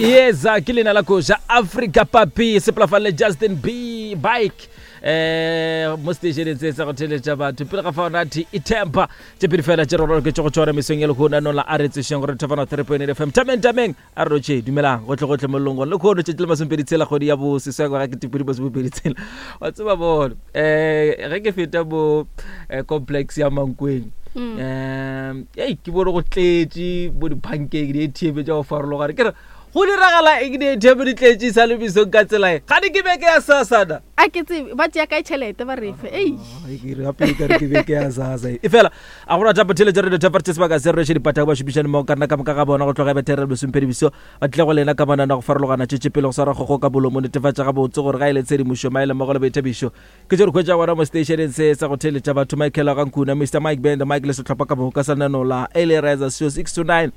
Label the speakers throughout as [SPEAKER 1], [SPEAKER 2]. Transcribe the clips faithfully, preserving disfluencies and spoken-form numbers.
[SPEAKER 1] Yeza ke leina la koša Africa Papi sepelafalle Justin B Bike eh mo stationeng se sa go theletša batho pele ga fao nathi itempa tše pedi fela tše re roloketše go tšona mesong ya lehono anong la a re tsošeng gore thefana three point eight fm tameng tameng a re rotše dumelang gotlhe gotlhe mollong gore lekhono tšatši le masomepedi tshela kgwedi ya boseswai ngwaga ketepedi masomepedi tshela wa tseba bone um ge ke feta mo eh, complex ya Mankweng um ei ke bone go tletše bo di-pancake di-atm tša go farologana ke re go diragala eng di-atm di tletše sa le mesong ka tsela e gane ke beke ya sasana
[SPEAKER 2] a ke tsebe ba tšea kae tšhelete ba refe ei
[SPEAKER 1] gape e kare ke beke ya sasa e fela a gona thapo theletša radio thaparte sebaka se reše dipatako ba šomišane mmogo ka rena ka moka ga bona go tloga bethere lesomphedi biso ba tlile go lena ka manana go farologana tšetše pele go swara kgogo ka bolomo netefatša gabotse gore ga e le tshedimošo maele mmogo le boithabišo ke tše re hwetša gona mo stationeng se sa go theletša batho Michael Gankuna Mr Mike Band Mike le sehlopha ka moka sa lenaneo la Early Riser Show six to nine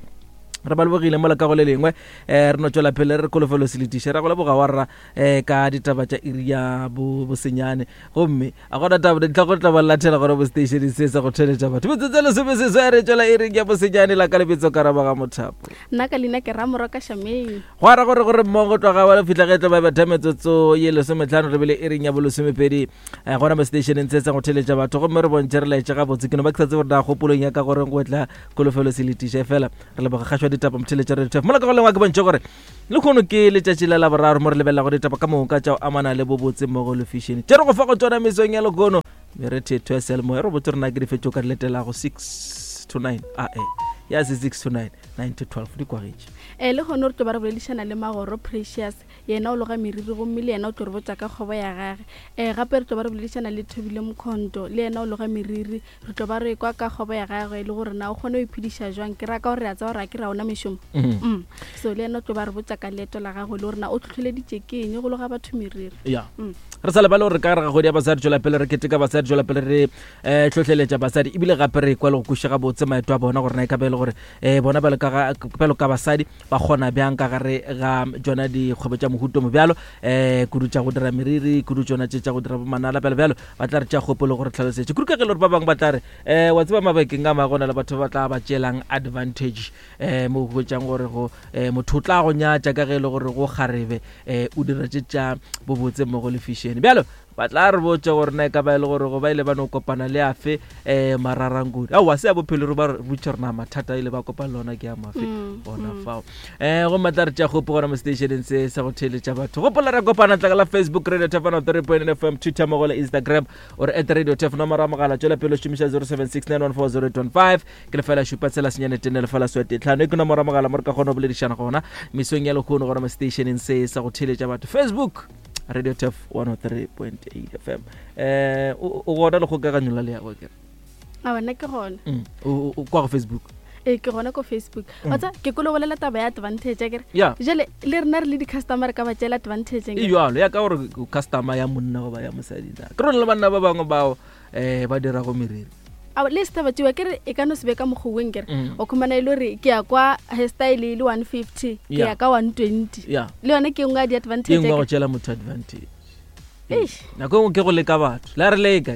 [SPEAKER 1] re ba lebogile mola ka go le lengwe um re no tswela pele re kholofelo se letiše ra go leboga wa rra um ka ditaba tša iri ya bo bosenyane gomme a gona taba dintlha go tla ba lathela gona mo stationeng se sa go theletša batho metsotso e lesome seswai re tswela iring ya bosenyane la ka lebetso karaba ga mothapo
[SPEAKER 2] nna ka leina ke ramoro ka shameng
[SPEAKER 1] go ara gore gore mmogo tloga ba le fitlha ge tlo ba betha metsotso ye lesometlhano re bele iring ya bolesomepedi um gona mo stationeng se sa go theletša batho gomme re bontšhe re laetše gabotse ke no ba ke sa tsebe gore na kgopolong ya ka goreng go tla kholofelo se letiše fela re leboga kgašwa ditaba motheletša radio tf mola ka go lengwa ke bontšhe gore le kgono ke letšatši la laboraro mo re lebelela go ditaba ka moka tša go amana le bobotse mmogo le fashion tše re go fa go tsona mesong ya lekono merethetho ya seyalemoya re botse rena ke difetšo ka di letelago six to nine ae ya se six to nine nine to twelve di kwagetše
[SPEAKER 2] um le gone re tlo ba re boledišana le magoro Precious yena o loga meriri gomme le yena o tlo re botsa ka kgobo ya gage um gape re tlo ba re boledišana le Thobile Mkhonto le yena o loga meriri re tlo ba re kwa ka kgobo ya gagwe le gore na o kgone go iphediša jwang ke raka gore re a tseba gore a ke ra ona mešomo mm. so le yena o tlo ba re botsa ka leeto la gagwe le gore na o tlhotlheleditše ke eng go loga batho meriri
[SPEAKER 1] ya
[SPEAKER 2] Mm.
[SPEAKER 1] re sa lebale gore ka gare ga kgwedi ya basadi tswela pele re keteka basadi tswela pele re um tlhotlheletša basadi ebile gape re kwa le go kweša gabotse maeto a bona gore na e ka be e le gore um bona bjalo ka ga- bjalo ka basadi ba kgona bjang ka gare ga tsona dikgwebo tša mohuto mo bjalo um kudu tša go dira meriri kudu tsona tše tša go dira bomanala bjalo bjalo ba tla re tša kgopolo gore tlhalosetše kudu ka ge e le gore ba bangwe ba tla re um wa tseba mabakeng a mangwe go na le batho ba tla ba tšeelang advantage um mo go hwetšang gore go um motho o tla go nyatša ka ge e le gore go kgarebe um o dira tše tša bobotse mmogo le fashion bjalo ba tla re botša gore na e ka ba e le gore go ba ile ba no kopana le afe um mararankodi aowa se ya bophelo re ba re botša rena mathata a ile ba kopana le ona ke a mafe
[SPEAKER 2] Mm,
[SPEAKER 1] gona
[SPEAKER 2] mm.
[SPEAKER 1] fao um gomme tla re tša kgopo gona mo stationeng se sa go theeletša batho gopola re kopana tlaka la Facebook Radio Tefano three point fm Twitter mmogo le Instagram ore at Radio Tef nomoro ya mogala tswela pele o šomiša zero seven six nine one four zero eight one five ke lefela šupa tshela senyane tene lefela swete tlhano e ke nomoro ya mogala mo re ka kgona go boledišana gona mesong ya lehono gona mo stationeng se sa go theeletša batho Facebook Radio Tef one oh three point eight fm um o o gona le kgokaganyo la leago kere
[SPEAKER 2] a bona ke gona
[SPEAKER 1] Mm, o o- kwa go Facebook
[SPEAKER 2] ee ke gona ko Facebook
[SPEAKER 1] Mm.
[SPEAKER 2] wa tsa ke kolo bolela taba ya advantage akere
[SPEAKER 1] ya
[SPEAKER 2] jale le rena re le di-customer re ka ba tšeela advantage
[SPEAKER 1] e jalo ya ka gore o customer ya monna goba ya mosadi na ke rone le banna ba bangwe bao um ba dirago meriri
[SPEAKER 2] A, le setaba tsewa ke re e ka no se be ka mokgoweng kere
[SPEAKER 1] Mm.
[SPEAKER 2] o khumana e le gore ke ya kwa hairstyle e le one fifty ke
[SPEAKER 1] Yeah.
[SPEAKER 2] ya ka one twenty
[SPEAKER 1] ya
[SPEAKER 2] le yone ke nngwe ya
[SPEAKER 1] e
[SPEAKER 2] di-advantage
[SPEAKER 1] nngwe ya go
[SPEAKER 2] akere.
[SPEAKER 1] tšeela motho advantage
[SPEAKER 2] Eish.
[SPEAKER 1] nako e nngwe ke go leka batho le a re leka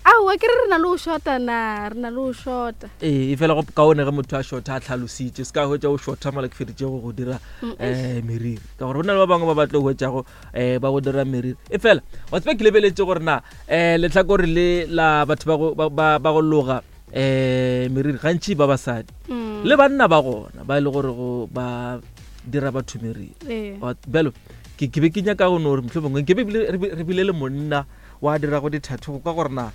[SPEAKER 2] aowa ke re re na le go shota na re na le go shota
[SPEAKER 1] ee e fela go kaone ge motho a shotha a tlhalositše se ka hwetša o shotha mola ke feditše go go dira
[SPEAKER 2] Mm,
[SPEAKER 1] um meriri ka gore go na le ba bangwe ba ba tlo hwetšago um ba go dira meriri e fela wa tseba ke lebeletše gore na um letlhakore le la batho ba go- ba- ba ba go loga um meriri gantši ba basadi
[SPEAKER 2] Mm.
[SPEAKER 1] le banna ba gona ba e le gore go ba dira batho meriri
[SPEAKER 2] Ee.
[SPEAKER 1] Wa- bjalo ke ke be ke nyaka go no gore mohlomongwe ke be bile- re be- re bile le monna wa dirago dithathu go ka gore na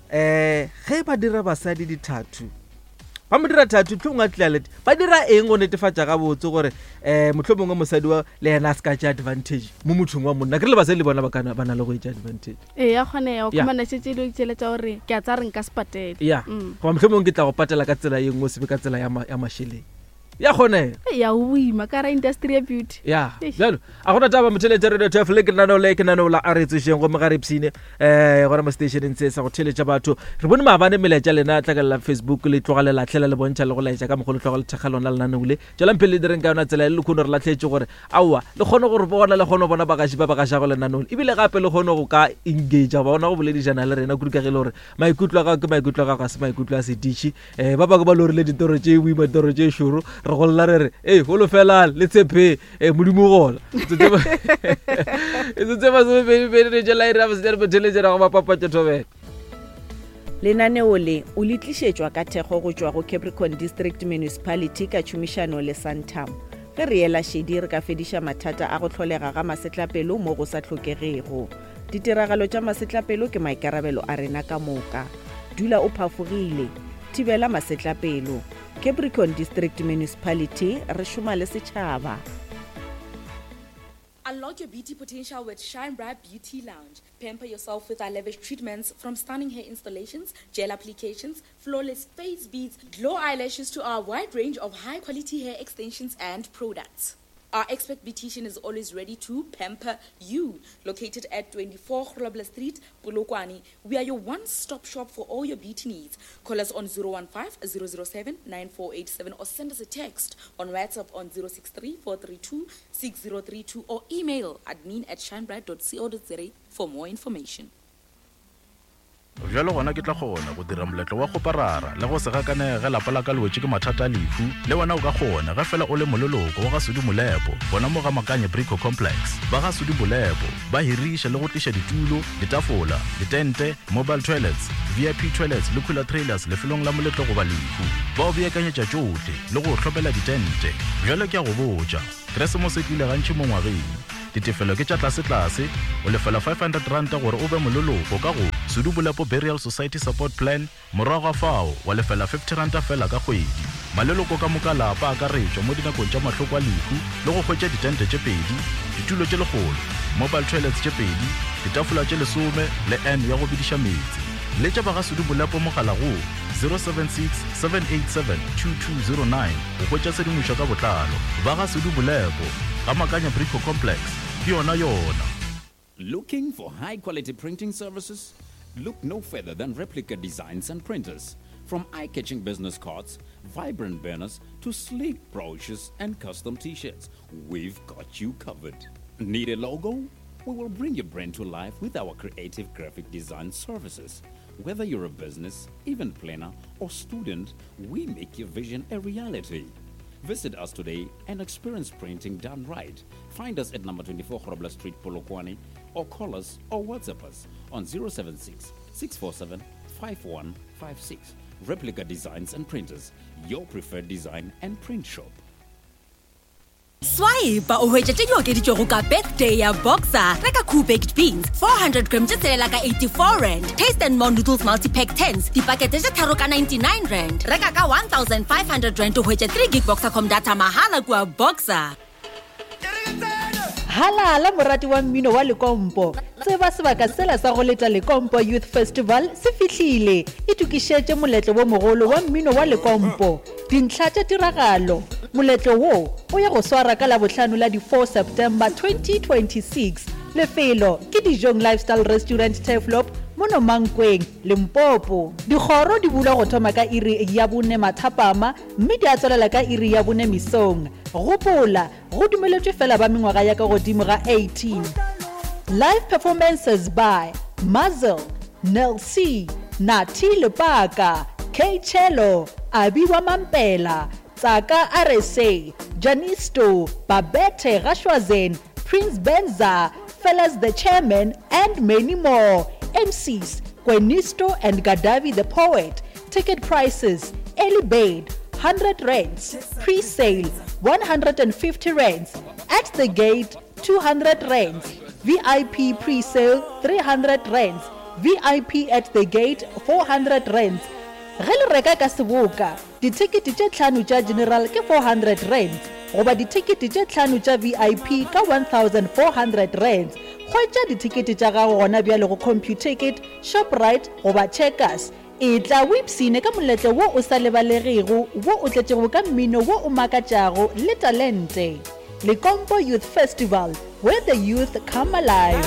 [SPEAKER 1] um ge ba dira basadi dithathu ba mo dira thathu mohlomongwe a tlile lete ba dira eng go netefatša gabotse gore um mohlomongwe mosadi wa le yena a se ka tša advantage mo mothong wa monna ke re le basadi le bona ba kana- ba na le go etša advantage
[SPEAKER 2] ee ya kgonega o
[SPEAKER 1] Yeah.
[SPEAKER 2] khumana šetse e le tšele tša gore ke a tsa re nka se patele
[SPEAKER 1] ya
[SPEAKER 2] Mm.
[SPEAKER 1] goba mohlomongwe ke tla go patela ka tsela ye nngwe o se be ka tsela ya ma- ya mašeleng ya kgonega
[SPEAKER 2] Ei, ya o boima ka ra industry ya beauty
[SPEAKER 1] ya
[SPEAKER 2] Eish.
[SPEAKER 1] bjalo a gona taba motheletša radio twelve le ke lenaneo le ke lenaneo la a re tsošeng gomme ga re ipshine um gona mo stationeng se sa go theletša batho re bone maabane melaetša lena tlakalela Facebook le tloga le latlhela le bontšha le go laetša ka mokgwa le tloga le thekga lona lenaneo le tswelang pele le direng ka yona tsela e le lekgono re latlhetše gore aowa le kgone gore bona le kgone go bona bagaši ba ba gašago lenaneo le ebile gape le kgone go ka engagea bona go boledišana le rena kudu ka ge e le gore maikutlo a gago ke maikutlo a gago ga se maikutlo a sediši um ba bangwe ba lorile ditoro tše boima ditoro tše šoro Re golla re re ee holofelang le tshepe e modimo gola etsotse masomepedipedi re tšela iri ya bosenyane botheletšena go mapapatša thobela.
[SPEAKER 3] Lenaneo le o le tlišetšwa ka thekgo go tšwa go Capricorn District Municipality ka tšhomišano le Santam. Ge re ela šedi re ka fediša mathata a go hlolega ga masetlapelo mo go sa hlokegego. Ditiragalo tša masetlapelo ke maikarabelo a rena ka moka. Dula o phafogile, thibela masetlapelo. Capricorn District Municipality, re šoma le setšhaba.
[SPEAKER 4] Unlock your beauty potential with Shine Bright Beauty Lounge. Pamper yourself with our lavish treatments, from stunning hair installations, gel applications, flawless face beads, glow eyelashes to our wide range of high quality hair extensions and products. Our expert beautician is always ready to pamper you. Located at twenty-four Grobler Street, Polokwane, we are your one-stop shop for all your beauty needs. Call us on zero one five, zero zero seven, nine four eight seven or send us a text on WhatsApp on zero six three, four three two, six zero three two or email admin at shinebright dot co dot za for more information.
[SPEAKER 5] Bjalo gona ke tla kgona go dira moletlo wa kgoparara le go se gakanege ge lapa la ka le wetše ke mathata a lehu. Le wena o ka kgona ge fela o le moleloko wa ga Sudi Molepo gona mo ga Makanye Brico Complex. Ba ga Sudi Molepo ba hiriša le go tliša ditulo, ditafola, ditente, mobile toilets, V I P toilets le cooler trailers lefelong la moletlo goba lehu. Ba o beakanyetša tšohle le go hlopela ditente. Bjalo ke a go botša, Keresemose e tlile gantši mo ngwageng. Ditefelo ke tša tlase-tlase, o lefela five hundred ranta gore o be moleloko ka go Sudi Molepo Burial Society Support Plan, morago ga fao wa lefela fifty ranta fela ka kgwedi. Maleloko ka moka lapa akaretšwa mo dinakong tša mahloko a lehu le go hwetša ditente tše pedi, ditulo tše lekgolo, mobile toilets tše pedi, ditafola tše lesome le N ya go bediša meetse. Letša ba ga Sudi Molepo mogala go zero seven six, seven eight seven, two two zero nine go hwetša tshedimošo ka botlalo. Ba ga Sudi Molepo ga Makanya Brico Complex, ke yona yona.
[SPEAKER 6] Looking for high quality printing services? Look no further than Replica Designs and Printers. From eye-catching business cards, vibrant banners, to sleek brochures and custom t-shirts, we've got you covered. Need a logo? We will bring your brand to life with our creative graphic design services. Whether you're a business, event planner, or student, we make your vision a reality. Visit us today and experience printing done right. Find us at number twenty-four Grobler Street, Polokwane, or call us or WhatsApp us on zero seven six, six four seven, five one five six. Replica Designs and Printers, your preferred design and print shop.
[SPEAKER 7] Swipe o hwetše tše di okeditšwego ka birthday ya Boxer. Reka Cool Baked Beans four hundred grams tše tshelela ka eighty-four rand. Taste and More Noodles Multi-Pack tens dipakete tše tharo ka ninety-nine rand. Reka ka one thousand five hundred rand o hwetše three gig Boxercom data mahala kua Boxer.
[SPEAKER 8] Halala morati wa mmino wa Lekompo. Tseba sebaka sela sa go leta Lekompo Youth Festival se fihlile. Itokišetše moletlo wo mogolo wa mmino wa Lekompo. Dintlha tša tiragalo. Moletlo wo o ya go swara ka Labohlano la di four September twenty twenty-six. Lefelo ke Dijong Lifestyle Restaurant Turfloop mono Mankweng, Limpopo. Dikgoro di bulwa go thoma ka iri ya bone mathapama mme di a tswelela ka iri ya bone mesong. Gopola, go dumeletšwe fela ba mengwaga ya ka godimo ga eighteen. Live performances by Mazel, Nel C, Nati Lepaka, K Cello, Abiwa Mampela, Tsaka R S A, Janisto, Babette Rashwazen, Prince Benza, Fellas the Chairman, and many more. M Cs, Kwenisto and Gadavi the Poet. Ticket prices, early bird, hundred rands, pre-sale, one hundred and fifty rands, at the gate, two hundred rands, V I P pre-sale, three hundred rands, V I P at the gate, four hundred rands. Ge le reka ka seboka, dithekete tše tlhano tša general ke four hundred rands, goba dithekete tše tlhano tša V I P ka one thousand four hundred rands. Hwetša dithekete tša gago gona bjale go Computicket, Shoprite goba Checkers. E tla o ipshine ka moletlo wo o sa lebalegego, wo o tletšego ka mmino wo o makatšago le talente. Lekompo Youth Festival, where the youth come alive.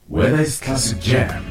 [SPEAKER 9] Whether it's classic jam,